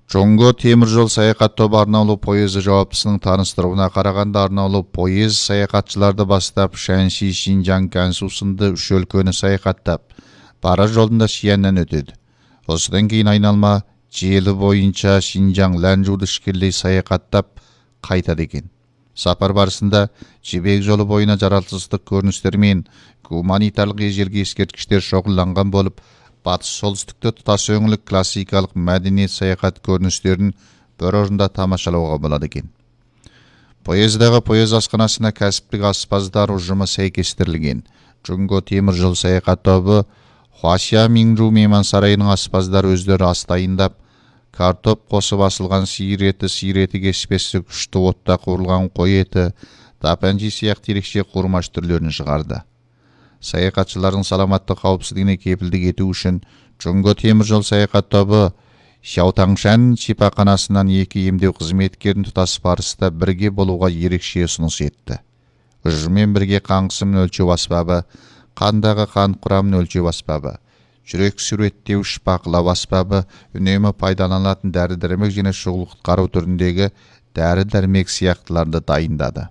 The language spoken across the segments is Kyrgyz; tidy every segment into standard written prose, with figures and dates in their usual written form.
Жонго темир жол саякат тобу арналуу поезд жауаптысынын тааныштырууна караганда арналуу поезд саякатчыларды бастап Шэньши, Шинжаң, Гансу сынды 3 өлкөнү саякаттап, бара жолунда Шияннан өтөдү. Осудан кийин айналма жели боюнча Шинжаң, Ланчжууду ишкерлей саякаттап кайтат экен. Сапар барысында Жибек жолу боюна жаратылыштык көрүнүштөр менен гуманитарлык эжелги эскерткичтер чогулланган болуп, батыш солтүстүктө туташ өңүлүк классикалык мәдениет саякат көрүнүштөрүн бир орунда тамашалоого болот экен. Поездагы поезд ашканасына кәсиптик аспаздар ужуму сейкестирилген. Жонго темир жол саякат тобу Хуашия Минжу мейман сарайынын аспаздары өздөрү ас дайындап, картоп косуп асылган сыйыр эти кеспеси күчтүү отто куурулган кой эти, тапанчи сыяктуу эрекче курмаш түрлөрүн чыгарды. Саякатчылардын саламаттык каопсуздугуна кепилдик этүү үчүн Жонго темир жол саякат тобу Шаотаңшан шипаканасынан 2 эмдөө кызметкерин туташ барыста бирге болууга эрекче сунуш этти. Ыжы менен бирге кан кысымын өлчөп аспабы, кандагы кан курамын өлчөп аспабы, жүрөк сүрөттөөш бакылап аспабы, үнөмө пайдаланылатын дары-дармек жана шугул куткаруу түрүндөгү дары-дармек сыяктууларды дайындады.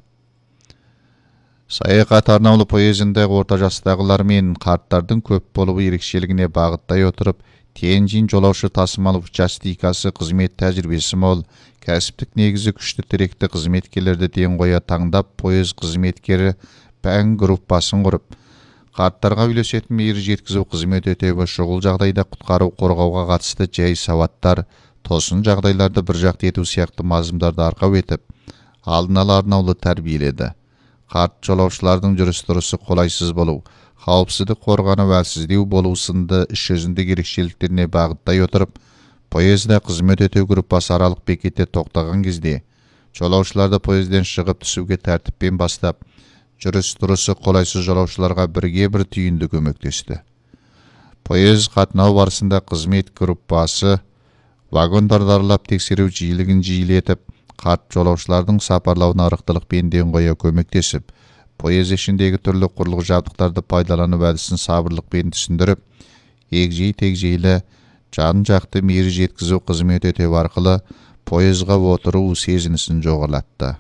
Саякат арналуу поездиндеги орто жаштагылар менен карттардын көп болуу эрекчелигине багыттай отуруп, Тяньжин жолоочу тасымал участикасы кызмет тажрыйбеси мол, кәсиптик негизи күчтүү тиректи кызметкерлерди тең коя таңдап, поезд кызметкери Пәң группасын куруп, карттарга үйлөсөтүн мээри жеткизүү кызмет өтөбү, шугул жагдайда куткаруу коргоого катысты жай сабаттар, тосын жагдайларды бир жакты этүү сыяктуу мазмундарды аркап этип, алдын ала арналуу тарбиеледи. Карт жолоочулардын жүрүш-турушу колайсыз болуу, каопсыздык коргануу, әлсиздүү болуу сынды иш өзүндүк эрекчеликтерине багыттай отуруп, поездда кызмет өтөө группасы аралык бекетте токтогон кезде жолоочуларды поездден чыгып түсүүгө тартиппен бастап, жүрүш-турушу колайсыз жолоочуларга бирге бир түйүндү көмөктөштү. Поезд катноо барысында кызмет группасы вагондорду аралап текшерүү жыйылыгын жыйылтып, карт жолоочулардын сапарлауына арыктылык бенден коя көмөктөшүп, поезд ишиндеги түрлүү курулук жабдыктарды пайдалануу әдисин сабырлык менен түшүндүрүп, эгжей-тегжейле жан жакты мээри жеткизүү кызмет өтөө аркылуу поездга отуруу сезинисин жогорулатты.